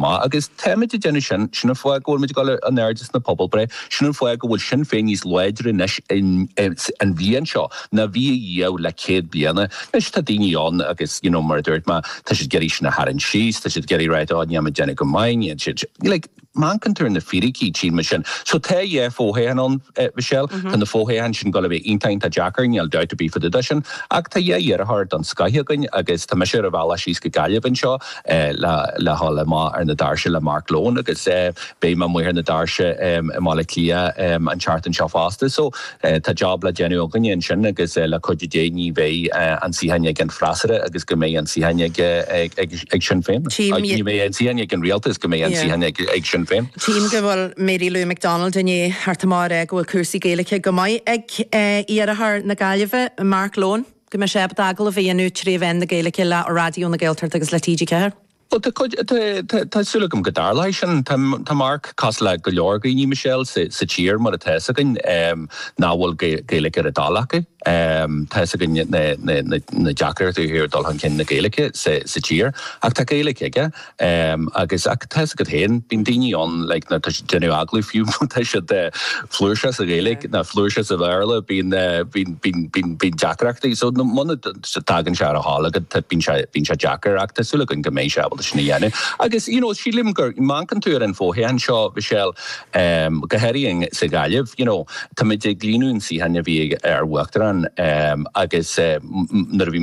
Maith, agus táimid ag déanamh sin, sin an fáth go bhfuil muid ag dul in airde sna pobalbhreith, sin an fáth go bhfuil Sinn Féin níos láidre anois an bhliain seo ná bhí ariamh le 100 bliana. Anois tá daoine ann agus you know mar a dúirt mé, tá siad ag iarraidh sin a tharraingt síos, tá siad ag iarraidh ráit oh níl muid ag déanamh go maith, níl siad, like má amharcann tú ar na fíricí tchíonn muid sin. So tá dhá fho-thoghchán ann, Michelle, tá na fo-thoghcháin sin ag dul a bheith iontach iontach deacair, níl dabht ar bith fá dtaobh de sin, ach tá dhá iarrthóir den scoith againn agus tá mise ar an bhealach síos go Gaillimh anseo, le dhul amach ar na doirse le Mark Lohan agus beidh mé amuigh ar na doirse i mBaile Átha Cliath an tseachtain seo fosta. So tá job le déanamh againne ansin agus le cuidiú Dé ní bheidh an suíochán ag an freasúra agus go mbeidh an suíochán ag Sinn Féin. Ní bheidh an suíochán ag an rialtas, go mbeidh an suíochán ag Sinn Féin. Tchím go bhfuil Mary Lou McDonald i ndiaidh theacht amach ag rá go bhfuil cúrsaí Gaeilge go maith ag iarrthóir na Gaillimhe, Mark Lohan. Go mbeidh sé ábalta agallamh a dhéanamh tré mheán na Gaeilge le Raidió na Gaeltachta agus le TG4. Bhuel, tá cuid, tá, tá súil agam go dtarlóidh sin. Tá, tá Mark cosúil le go leor daoine, Michelle, sa, sa tír, mar atá fhios againn, nach bhfuil Gaeilge ar a dtoil acu. Tá fhios againn na, na, na, na deacrachtaí ó thaobh dul chun cinn na Gaeilge sa, sa tír. Ach tá Gaeilge aige. Agus, ach tá fhios agat féin, bíonn daoine ann like nuair atá siad ag déanamh agallamh fiú má tá siad flúirseach sa Ghaeilge nó flúirseach sa Bhéarla, bíonn, bíonn, bíonn, bíonn, bíonn deacrachtaí. So muna dtagann sé ar a thoil agat, bíonn sé, bíonn sé deacair ach tá súil againn go mbeidh sé ábalta sin a dhéanamh. Agus, you know, sílim gur, má amharcann tú ar an fho-thoghchán seo, Michelle, go háirithe sa Ghaillimh, you know, táimid ag líonadh an suíocháin a bhí ag ár Uachtarán agus nuair a bhí.